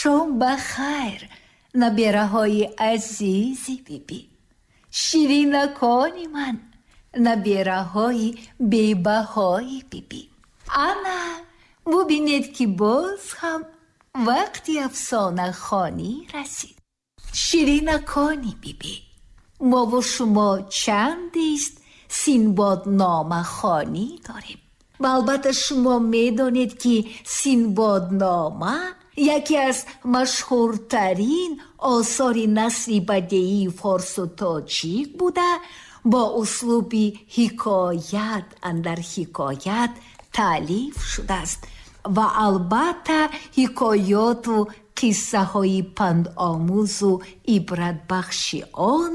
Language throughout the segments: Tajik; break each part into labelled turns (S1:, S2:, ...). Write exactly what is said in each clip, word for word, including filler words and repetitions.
S1: Шом ба хайр, набераҳои азизи бибӣ, ширинакони ман, набераҳои бебаҳои бибӣ. Ана бубинед, ки боз ҳам вақти афсонахонӣ расид. Ширинакони бибӣ, мову шумо чандест Синбодномахонӣ дорем. Ва албатта шумо медонед, ки Синбоднома яке аз машҳуртарин осори насри бадеии форсу тоҷик буда, бо услуби ҳикоят андар ҳикоят таълиф шудааст ва албатта ҳикоёту қиссаҳои пандомӯзу ибратбахши он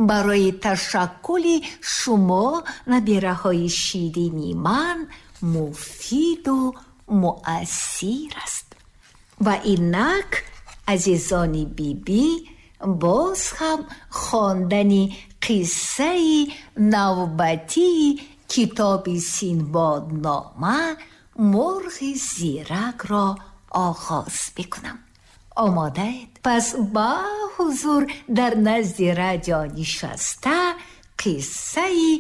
S1: барои ташаккули шумо, набираҳои ширини ман, муфиду муассир аст. Ва инак, азизони бибӣ, боз ҳам хондани қиссаи навбатии китоби Синбоднома «Мурғи зиракро» оғоз мекунам. Омодаед? Пас ба ҳузур дар назди радио нишаста қиссаи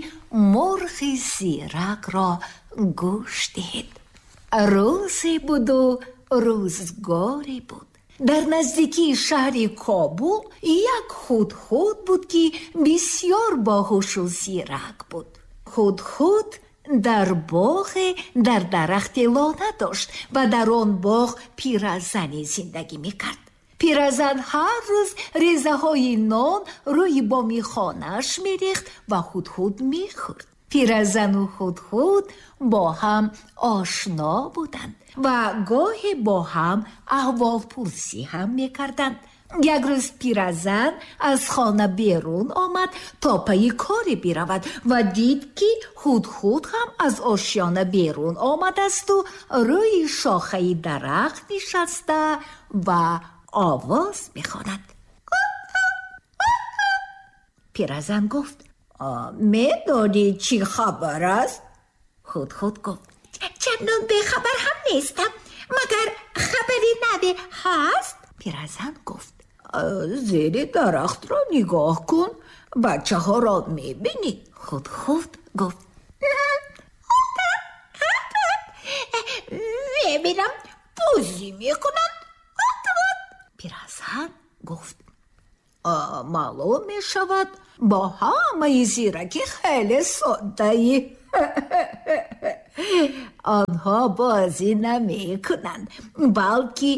S1: мурғи зиракро гӯш диҳед. Рӯзе буду рӯзгоре буд. Дар наздикии шаҳри Кобул як Ҳудҳуд буд, ки бисёр боҳушу зирак буд. Ҳудҳуд дар боғе дар дарахти лона дошт ва дар он боғ пиразане зиндагӣ мекард. Пиразан ҳар рӯз резаҳои нон рӯи боми хонааш мерехт ва Ҳудҳуд мехӯрд. Пиразану Ҳудҳуд бо ҳам ошно буданд ва гоҳе бо ҳам аҳволпурсӣ ҳам мекарданд. Як рӯз пиразан аз хона берун омад то пайи коре биравад ва дид, ки Ҳудҳуд ҳам аз ошёна берун омадасту рӯи шохаи дарахт нишаста ва овоз мехонад. Пиразан гуфт: медонӣ чӣ хабар аст? Ҳудҳуд гуфт:
S2: чандон бехабар ҳам нестам, магар хабари наве ҳаст?
S1: Пиразан гуфт: зери дарахтро нигоҳ кун, бачаҳоро мебинӣ. Ҳудҳуд гуфт:
S2: мебинам, бозӣ мекунанд.
S1: Пиразан гуфт: маълум мешавад, бо ҳамаи зиракӣ хеле соддаӣ. Онҳо бозӣ намекунанд, балки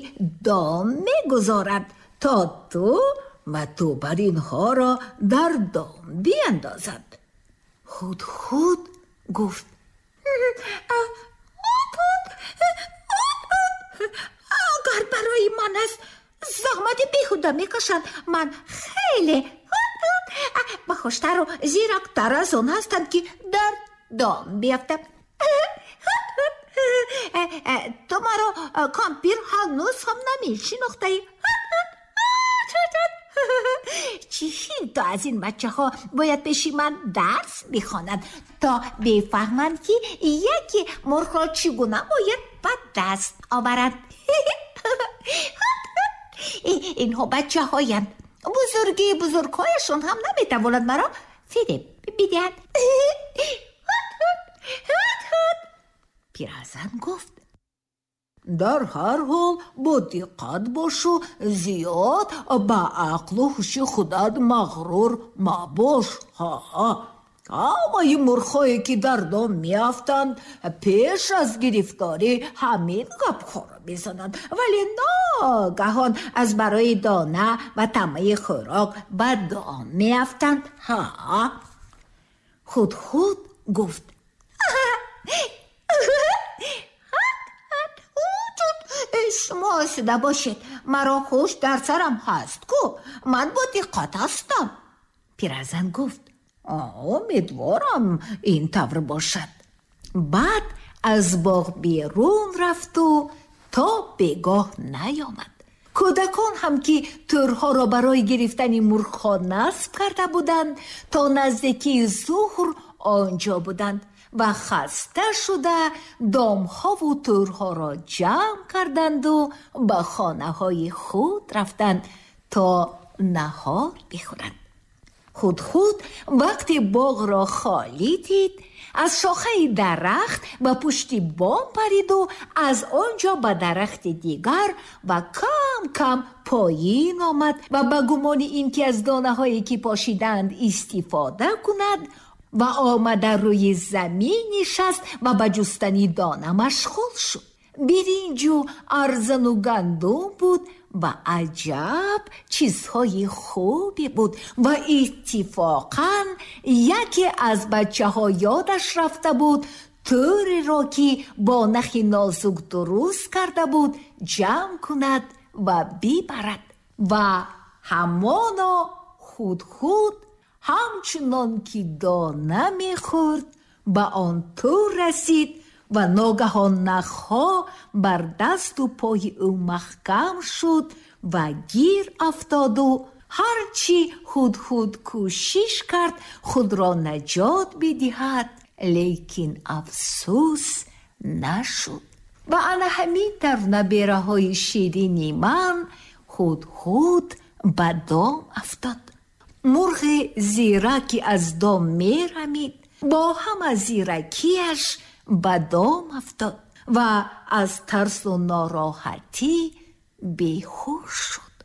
S1: дом мегузоранд, то ту ва ту бар инҳоро дар дом биандозанд. Ҳудҳуд гуфт:
S2: агар барои ман аст заҳмати беҳуда мекашанд, ман хеле бахуштару зирактар аз он ҳастам, ки дар дом биафтам. Ту маро, кампир, ҳанӯз ҳам намешинохтаӣ. Чӣ то аз ин бачаҳо бояд пеши ман дарс бихонанд, то бифаҳманд, ки яке мурғро чӣ гуна бояд ба даст оваранд. Инҳо бачаҳоянд, бузургии бузургҳояшон ҳам наметавонад маро фиреб бидиҳад.
S1: Пиразан гуфт: дар ҳар ҳол бо диққат бошу, зиёд ба ақлу ҳуши худат мағрур мабош. Ҳа, ҳамаи мурғҳое ки дар дом меафтанд, пеш аз гирифторӣ ҳамин гапҳоро мезананд, вале ногаҳон аз барои дона ва тамаи хӯрок ба дом меафтанд. Ҳа. Ҳудҳуд гуфт:
S2: шумо осуда бошед, маро ҳуш дар сарам ҳаст ку, ман бо диққат ҳастам.
S1: Пиразан гуфт: умедворам ин тавр бошад. Баъд аз боғ берун рафту то бегоҳ наёмад. Кӯдакон ҳам, ки тӯрҳоро барои гирифтани мурғҳо насб карда буданд, то наздикии зуҳр он ҷо буданд. ва хаста шуда домҳову тӯрҳоро ҷамъ карданду ба хонаҳои худ рафтанд то наҳор бихӯранд. Ҳудҳуд вақте боғро холӣ дид, аз шохаи дарахт ба пушти бом париду аз он ҷо ба дарахти дигар ва кам-кам поин омад ва ба гумони ин ки аз донаҳое ки пошидаанд истифода кунад ва омада рӯи замин нишаст ва ба ҷустани дона машғул шуд. Биринҷу арзану гандум буд ва аҷаб чизҳои хубе буд ва иттифоқан яке аз бачаҳо ёдаш рафта буд тӯреро ки бо нахи нозук дуруст карда буд ҷамъ кунад ва бибарад. Ва ҳамоно Ҳудҳуд ҳамчунон ки дона мехӯрд ба он тӯр расид ва ногаҳон нахҳо бар дасту пои ӯ маҳкам шуд ва гир афтоду ҳарчи Ҳудҳуд кӯшиш кард худро наҷот бидиҳад, лекин афсӯс нашуд. Ва ана ҳамин тавр набераҳои ширини ман Ҳудҳуд ба дом афтод. Мурғи зираки аз дом мерамид, бо ҳама зиракиаш ба дом афтод ва аз тарсу нороҳатӣ беҳуш шуд.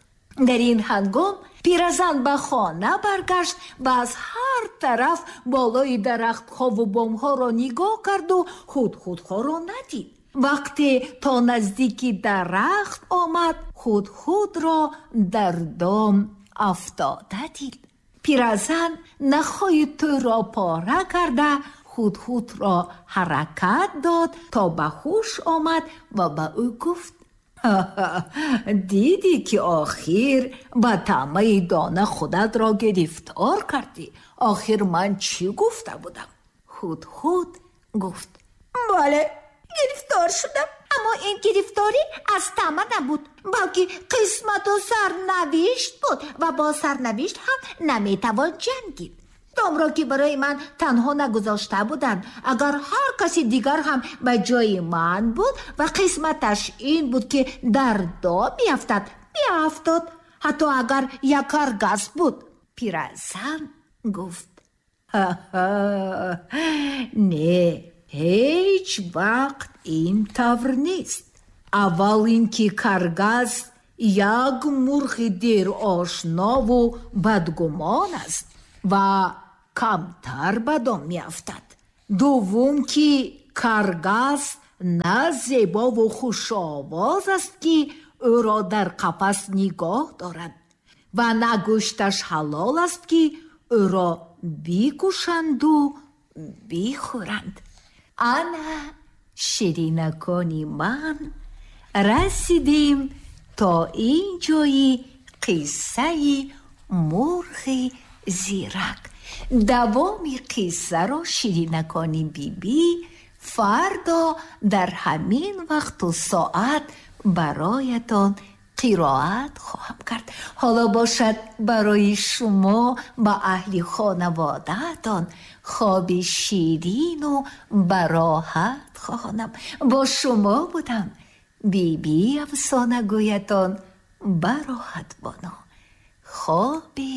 S1: Дар ин ҳангом пиразан ба хона баргашт ва аз ҳар тараф болои дарахтҳову бомҳоро нигоҳ карду ҳудҳудҳоро надид. Вақте то наздики дарахт омад, ҳудҳудро дар дом афтода дид. Пиразан нахҳои тӯрро пора карда ҳудҳудро ҳаракат дод то ба ҳуш омад ва ба ӯ гуфт: дидӣ ки охир ба таъмаи дона худатро гирифтор кардӣ. Охир ман чӣ гуфта будам? Ҳудҳуд гуфт:
S2: бале, гирифтор шудам, аммо ин гирифторӣ аз таъма набуд, балки қисмату сарнавишт буд ва бо сарнавишт ҳам наметавон ҷангид. Домро ки барои ман танҳо нагузошта буданд, агар ҳар каси дигар ҳам ба ҷои ман буд ва қисматаш ин буд ки дар дом биафтад, биафтод, ҳатто агар як каргас буд.
S1: Пиразан гуфт: не, ҳеҷ вақт ин тавр нест. Аввал ин ки каргас як мурғи дерошнову бадгумон аст ва камтар ба дом меафтад. Дуввум ки каргас на зебову хушовоз аст ки ӯро дар қафас нигоҳ дорад ва на гӯшташ ҳалол аст ки ӯро бикушанду бихӯранд. Ана ширинакони ман расидем то ин ҷои қиссаи мурғи зирак. Давоми қиссаро ширинакони бибӣ фардо дар ҳамин вақту соат бароятон қироат хоҳам кард. Ҳоло бошад барои шумо ба аҳли хонаводаатон хоби ширину бароҳат хоҳонам. Бо шумо будам Биби афсонагӯятон Бароҳат Бону. Хоби